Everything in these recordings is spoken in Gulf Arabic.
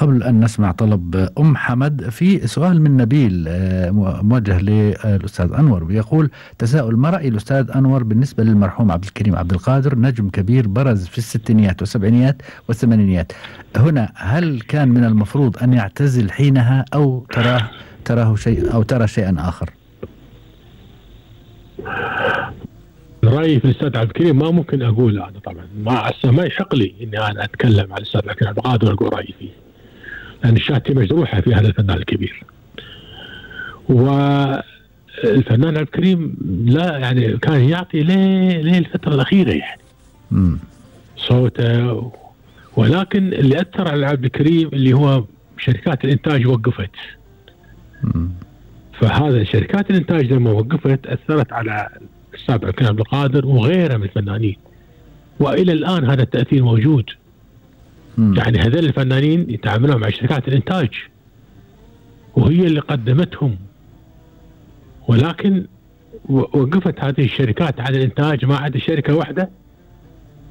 قبل أن نسمع طلب أم حمد، في سؤال من نبيل موجه للأستاذ أنور، بيقول: تساؤل: ما رأي الأستاذ أنور بالنسبة للمرحوم عبد الكريم عبد القادر، نجم كبير برز في الستينيات والسبعينيات والثمانينيات، هنا هل كان من المفروض أن يعتزل حينها أو تراه شيء أو ترى شيئا آخر؟ رأيي في الأستاذ عبد الكريم ما ممكن أقول أنا طبعا، ما يحق لي إني أنا أتكلم عن الأستاذ عبد الكريم عبد القادر وأقول رأيي فيه، لأن الشهادة مجروحة في هذا الفنان الكبير. والفنان عبد الكريم لا يعني كان يعطي ليه الفترة الأخيرة يعني صوته، ولكن اللي أثر على عبد الكريم اللي هو شركات الإنتاج وقفت. فهذا شركات الإنتاج لما وقفت أثرت على الأستاذ عبد الكريم عبد القادر وغيره من الفنانين، وإلى الآن هذا التأثير موجود. يعني هذول الفنانين يتعاملون مع شركات الإنتاج وهي اللي قدمتهم، ولكن وقفت هذه الشركات عن الإنتاج ما عدا شركة واحدة،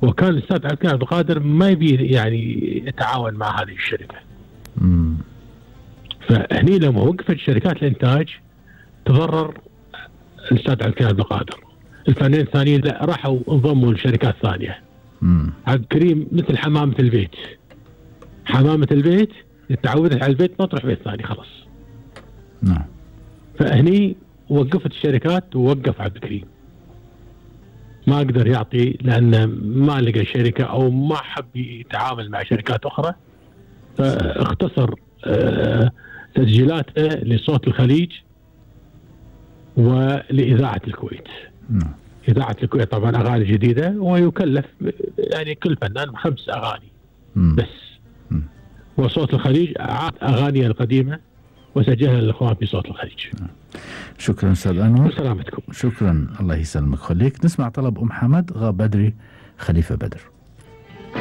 وكان الأستاذ عبد الكريم عبد القادر ما يبي يعني يتعاون مع هذه الشركة. فهني لما وقفت شركات الإنتاج تضرر الأستاذ عبد الكريم عبد القادر. الفنانين الثانيين لا راحوا انضموا لشركات ثانية. عبد الكريم مثل حمامة البيت، حمامة البيت تعودت على البيت ما تروح بيت ثاني خلاص. فهني وقفت الشركات ووقف عبد الكريم، ما قدر يعطي لأنه ما لقى شركة أو ما حب يتعامل مع شركات أخرى، فاختصر تسجيلاته لصوت الخليج ولإذاعة الكويت. إذاعة الكويت طبعا أغاني جديدة، ويكلف يعني كل فنان 5 أغاني بس. وصوت الخليج عاد أغاني القديمة وسجلها للإخوان في صوت الخليج. شكرا أستاذ أنور. وسلامتكم. شكرا، الله يسلمك. خليك نسمع طلب أم حمد غاب بدري خليفة بدر.